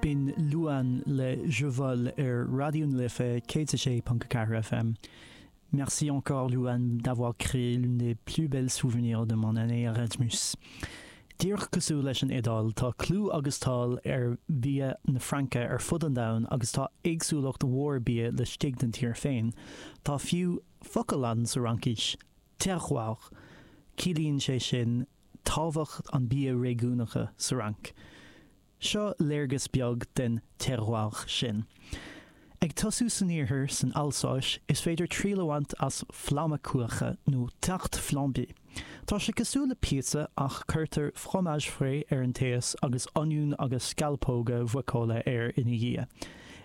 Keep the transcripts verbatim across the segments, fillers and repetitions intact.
B'in Louane le Je vole ar Raidió na Life céad a sé ponc ceathair FM. Merci encore Louane d'avoir créé l'une des plus belles souvenirs de mon année Erasmus. Díreach cosúil leis an Iodáil tá clú agus cáil ar bhia na Fraince ar fud an domhain agus tá éagsúlacht mhór bia laistigh den tír féin. Tá fiú focal ann sa Fhraincis, terroir. Ciallaíonn sé sin tábhacht an bia réigiúnacha sa Fhrainc. Seo léargas beag den terroir sin. Ag tosú san iarthar san Alsáis is féidir triail a bhaint as flammekueche nó tarte flambée. Tá sé cosúil le píotsa ach cuirtear fromage frais ar an taos agus oinniún agus scealpóga muiceola air ina dhiaidh.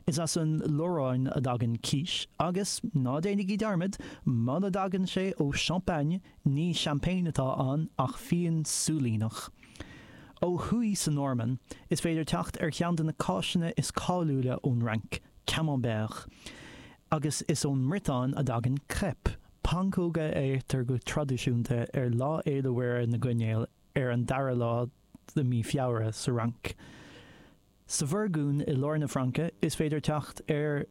Is as an Lorráin a dtagann quiche agus ná déanaigí dearmad muna dtagann sé ó Champagne ní champagne atá ann ach fíon súilíneach. Ó thuaidh sa Normainn, is féidir teacht ar cheann de na cáiseanna is cáiliúla ón Fhrainc, Camembert. Agus is ón mBriotáin a dtagann crêpe, pancóga a itear go traidisiúnta ar Lá Fhéile Mhuire na gCoinneal ar an dara lá de mí Feabhra sa Fhrainc. Sa Bhurgúin i lár na Fraince is féidir teacht ar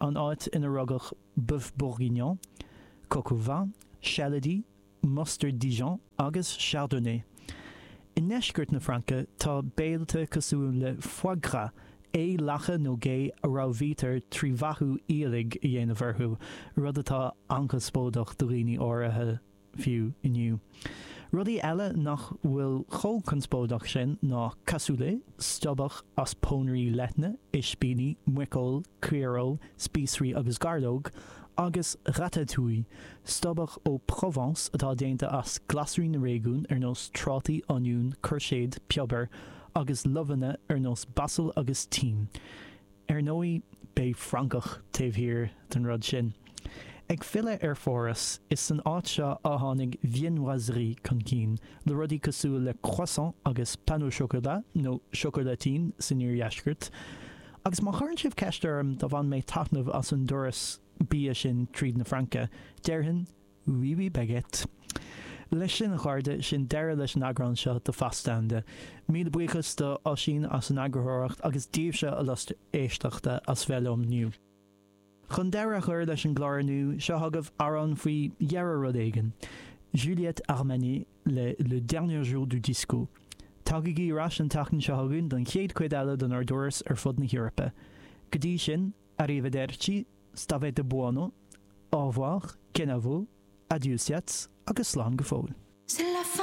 an áit ina rugadh bœuf bourguignon, coq au vin, sealadí, mustard Dijon agus chardonnay. I ndeisceart na Fraince tá béilte cosúil le foie gras, é lacha nó gé a ramhraítear trí bheathú aoiligh a dhéanamh orthu, rud atá an-chonspóideach do dhaoine áirithe fiú inniu. Rudaí eile nach bhfuil chomh conspóideach sin ná cassoulet, stobhach as pónairí leithne, ispíní, muiceoil, caoireoil, spíosraí agus gairleog, agus ratatouille, stobhach ó Provence atá déanta as glasraí na réigiún ar nós trátaí, oinniún, coirséad, piobar, agus luibheanna ar nós basal agus tím. Ar ndóigh beidh Francach taobh thiar den rud sin. Ag filleadh ar Pháras is san áit seo a tháinig viennoiserie chun cinn, le rudaí cosúil le croissant agus pain au chocolat nó chocolatine san iardheisceart. Agus má chuireann sibh ceist orm dá bhain mé taitneamh as an dturas bia sin tríd na Fraince, déarfainn oui oui baguette. Leis sin a chairde sin deireadh leis an eagrán seo de Phas Domhanda. Míle buíochas do Oisín as an eagarthóireacht agus daoibhse a lucht éisteachta as bheith liom inniu. Chun deireadh a chur leis an gclár inniu seo chugaibh amhrán faoi dheireadh rud éigin. Juliette Armanet le Le Dernier Jour du Disco. Tagaigí ar ais an tseachtain seo chugainn don chéad chuid eile den ár dturas ar fud na hEorpa. Go dtí sin, arrivederci, stavete buono, au revoir, kenavo, adieusiads agus slán go fóill. C'est la fin.